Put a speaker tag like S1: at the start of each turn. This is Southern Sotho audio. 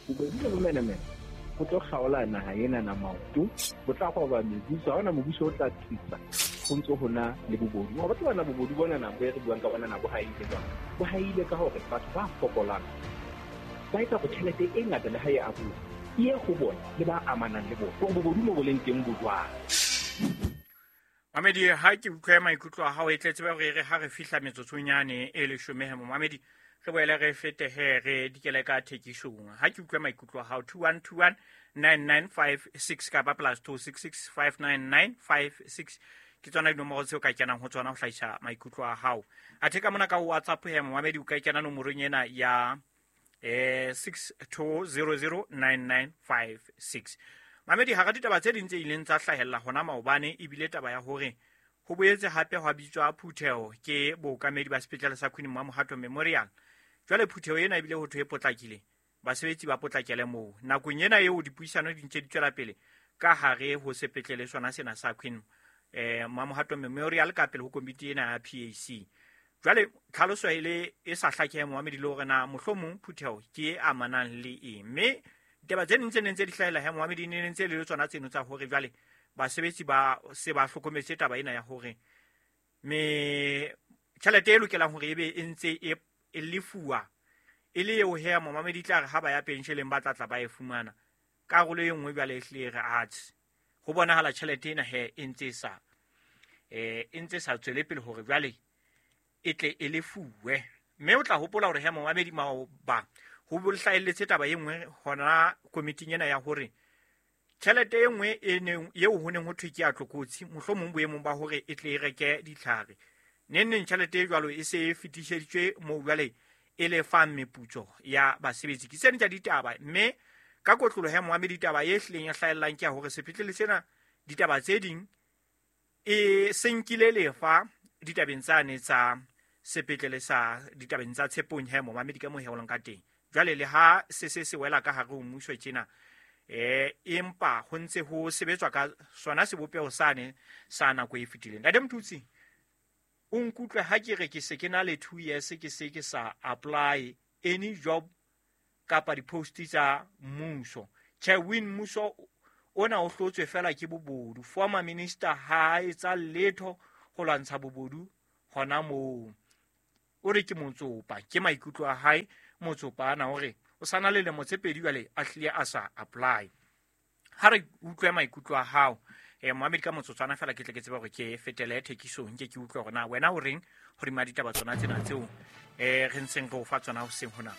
S1: Bobodu le bomenemene bo tlo kgaola naha ena na maoto, bo tla roba mebuso. Ha hona mobuso o tla tsitsa ho ntso ho na le bobodu. Wa batla bona bobodu bona na bo re buang ka bona na bo haile jwang? Bo haile ka hore batho ba fokolang ba etsa hore tjhelete e ngata le ha e abuwa e ye ho bona le ba amanang le bona. Hore bobodu mo bo leng teng bo jwang?
S2: Mamedi, ha ke utlwe maikutlo a hao, e tle tsebe hore re ha re fihla metsotsong yane e leshome he momamedi, re boele re fete he re dikele ka thekisong. Ha ke utlwe maikutlo a hao, 2121 9956 kapa plus 266 59956 ke tsona dinomoro tseo ka kenang ho tsona ho hlahisa maikutlo a hao. Athe ka mona ka WhatsApp he momamedi, o ka kena nomorong ena ya 62009956. Mamedi, hara ditaba tse ding tse ileng tsa hlahella hona maobane ebile taba ya hore ho boetse hape hwa bitswa phutheho ke bookamedi ba sepetlele sa Queen Mamohato Memorial. Jwale phutheho ena ebile ho thwe e potlakile, basebetsi ba potlakele moo nakong ena eo dipuisano di ntse di tswela pele ka hare ho sepetlele sona sena sa Queen Mamohato Memorial ka pele ho komiti ena ya PAC. Jwale tlhaloso e le e sa hlakehe momamedi le hore na mohlomong phutheho ke e amanang le eng, mme ditaba tse ding tse neng tse di hlahela he momamedi ne ntse le tsona tseno tsa hore jwale basebetsi ba se ba hlokometse taba ena ya hore me tjhelete e lokelang hore ebe e ntse e lefuwa e le eo he momamedi tla re ha ba ya pensheleng ba tla tla ba e fumana. Karolo e nngwe jwale e hlile re atse ho bonahala tjhelete ena he e ntse sa e ntse sa tswele pele hore jwale e tle e lefuwe. Mme o tla hopola hore he momamedi maoba ho hlahelletse taba e nngwe hona komiting ena ya hore tjhelete e nngwe e neng eo ho neng ho thwe ke ya tlokotsi, mohlomong boemong ba hore e tle e reke ditlhare, neng neng tjhelete e jwalo e se e fetiseditswe moo jwale e lefang meputso ya basebetsi. Ke tsena tsa ditaba, mme ka kotloloho ya momamedi taba e hlileng ya hlahellang ke ya hore sepetlele sena ditaba tse ding e se nkile lefa ditabeng tsane tsa sepetlele sa ditabeng tsa Tshepong he momamedi ka moo heolang ka teng. Jwale le ha se se se wela ka hare ho mmuso tjena, empa ho ntse ho sebetswa ka sona sebopeho sane sa nako e fetileng. Ntate Mthutsi, o nkutlwe ha ke re ke se ke na le 2 years ke se ke sa apply any job kapa di-post tsa mmuso. Tjhe, win mmuso ona o hlotswe fela ke bobodu. Former minister ha etsa letho ho lwantsha bobodu hona moo. O re ke motsopa, ke maikutlo a hae motsopa ana, o re o sana le lemo tse pedi jwale a hlile a sa apply. Ha re utlwe maikutlo a hao Mohammed ka motsotswana fela ke tle ke tsebe hore ke fetele thekisong, ke ke utlwe hore na wena o reng hodima ditaba tsona tsena tseo re ntseng re o fa tsona hoseng hona.